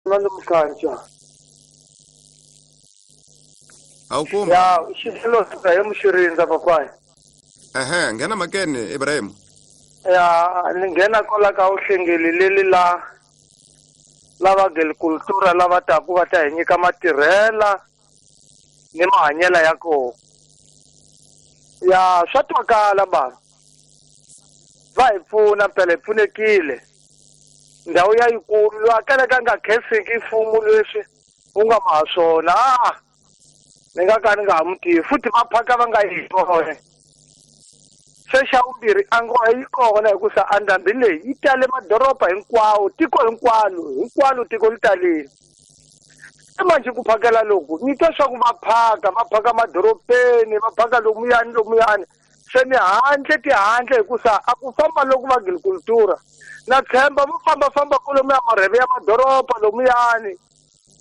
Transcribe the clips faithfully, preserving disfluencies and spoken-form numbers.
Armando Mkhancha. Awukuma. Ya, xilo Ibrahim Xirindza papai. Ehe, nghena makene Ibrahim. Ya, ni nghena kwala ka uhlengeli leli la lava agricultura lava taku va ta hi nyika matirhela ni mahanyela ya kona. Ya, swa twakala bava. Va hi pfuna phela hi pfunekile. Ndhawu ya yikulu loyi a kalaka a nga khenseki mfumo leswi wu nga ma swona. Ah, ni nga ka ni nga ha mu tivi futhi va phaka va nga yi vona. Se xa vumbirhi a ngo yi kona hikusa a ndhambi leyi yi tale madoroba hinkwawo tiko hinkwalo hinkwalo tiko li talile. Se manjhe ku phakela loku ni twa swa ku va phaka va phaka madorobeni va phaka lomuyani lomuyani se ni handle tihandle hikusa a ku famba loku va agricultura na tshemba vo fambafamba kolomuya marheve ya madoroba lomuyani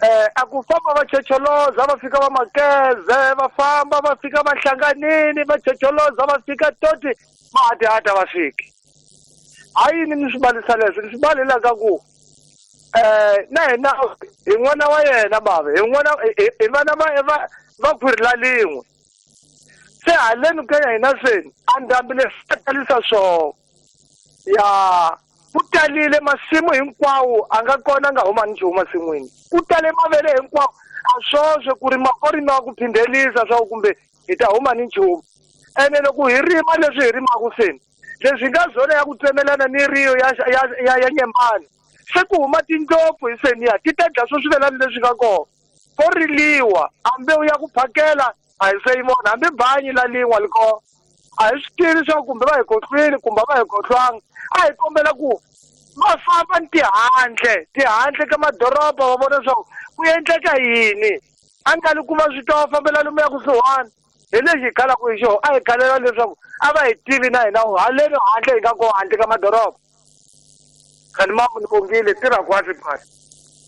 eh a ku famba va chocholoza va fika va makeze va famba va fika va hlanganini va chocholoza va fika toti mahatihata va fiki. Ha yini ni swi balisa leswi ni swi balela ka ku eh na hina hi n'wana wa yena bava hi n'wana hi vana va va va khwiri la lin'we se haleni ka ya hina seni a ndhambi leswi talisa swona ya ku talile masimu hinkwawo a nga kona nga huma ni nchumu masin'wini ku tale mavele hinkwawo a swoswe ku rima ko rimiwa ku phindhelisa swa ku kumbe hi ta huma ni nchumu ene loko hi rima leswi hi rimaka seni leswi nga zona ya ku tsemelana ni riyo ya ya ya, ya nyembani se ku huma tindlopfu hi seniya ti ta dya swo swivelani leswi nga kona ko riliwa a mbewu ya ku phakela a hi se yi vona hambi banyi la lin'wa li kona a hi swi tivi swa kumbe va hi khohlwile kumbe va hi khohlwanga a hi kombela ku va famba ni tihandle tihandle ka madoroba va vona swa ku endleka yini a nga li ku va swi twa va fambela lomuya kusuhani hi lexi hi khalaka hi xona a hi khalela leswaku a va hi tivi na hina haleni handle hi nga kona handle ka madoroba. Khani mambo ni bongile tirha kwasi phasi.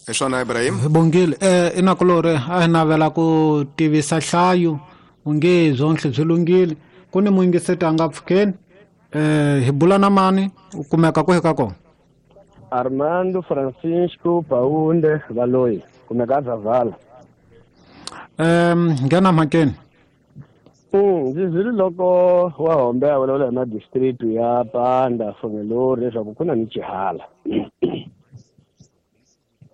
Hi swona Ibrahim. Hi bongile eh inakulore a hi navela ku tivisa hlayo unge zonhle byi lunghile ku ni muyingiseti a nga pfukeni eh hi bula na mani u kumeka kwihi ka kona. Armando Francisco Paunde Valoyi kumeka Zavala. Ehm nghena mhakeni. Mm, ndzi zwile loko wa hombe a vulavula hi madistrict ya Panda Fongelori leswaku ku na ni xihala.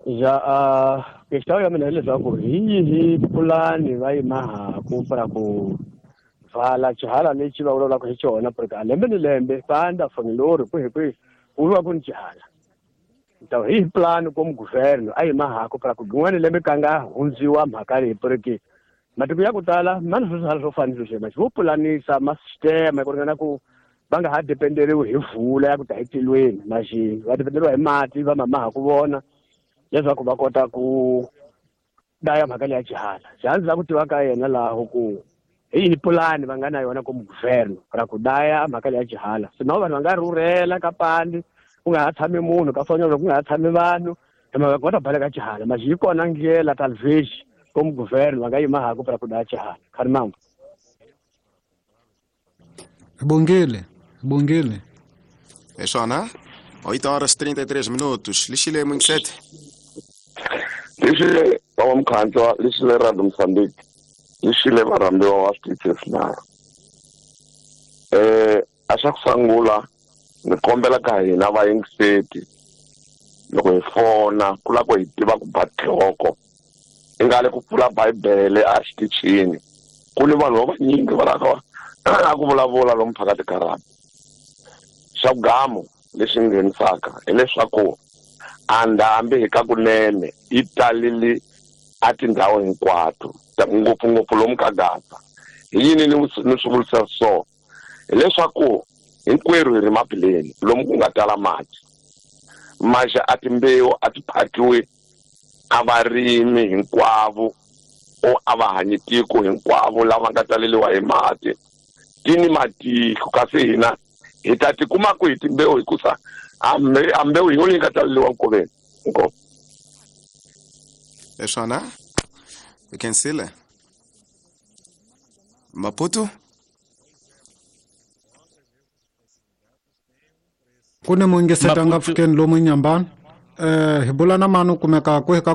Ja a question ya mina hileswaku hi yihi pulani va yi mahaku para ku vala xihala lexi va vulavulaka hi xona porque a lembe ni lembe Panda Fongelori kwihi kwihi ku va ku ni xihala. Ta hi plan como governo a yi mahaku para ku rin'wana lembe ka nga hundziwa mhaka leyi porque matiko ya ku tala ma ni swihala swo fana ni sweswo vo pulanisa ma sistema ku ringana ku va nga ha dependeriwi hi vula ya ku ta hi tilweni maxi va dependeriwa hi mati va mamaha ku vona leswaku va kota ku daya mhaka leya xihala. Xihala la ku tiva ka yena laho ku hi yihi pulani va nga na yona como governo ra ku daya mhaka leya xihala sino vanhu va nga rhurhela ka pandi ku nga ha tshami munhu ka Fonyolo ku nga ha tshami vanhu hi mhaka ku va ta baleka xihala maxi yi kona ndlela talvez como governo va nga yima haku para ku daya xihala. Khani mambo. Bongile, bongile. Hi swona. Oito horas trinta e três minutos. Lixile muyingiseti. Lixile baba Mkhantswa, lixile Radio Mozambique, lixile varhambiwa wa switichi swinharhu. Eh a xa ku sungula ni kombela ka hina vayingiseti loko hi fona ku lava ku hi tiva ku ba nhloko i nga le ku pfula bibele a xitichini ku ni vanhu va vanyingi va lava a ku vulavula lomu phakati ka rhabi. Xa vugamu lexi nghenisaka hileswaku a ndhambi hi ka kunene yi talile a tindhawu hinkwato ngopfungopfu lomu ka Gaza. Hi yini ni ni swi vurisa so hileswaku hinkwerhu hi ri mapileni lomu ku nga tala mati maxa a timbewu a ti phakiwi a varimi hinkwavo o a va hanyi tiko hinkwavo lava nga taleliwa hi mati ti ni matiko kasi hina hi ta tikuma ku hi timbewu hikusa a mbewu hi yona yi nga taleliwa nkoveni inkomu. Hi swona hi khensile Maputo. Ku ni muyingiseti a nga pfukeni lomu nyambani eh hi bula na mani u kumeka kwihi ka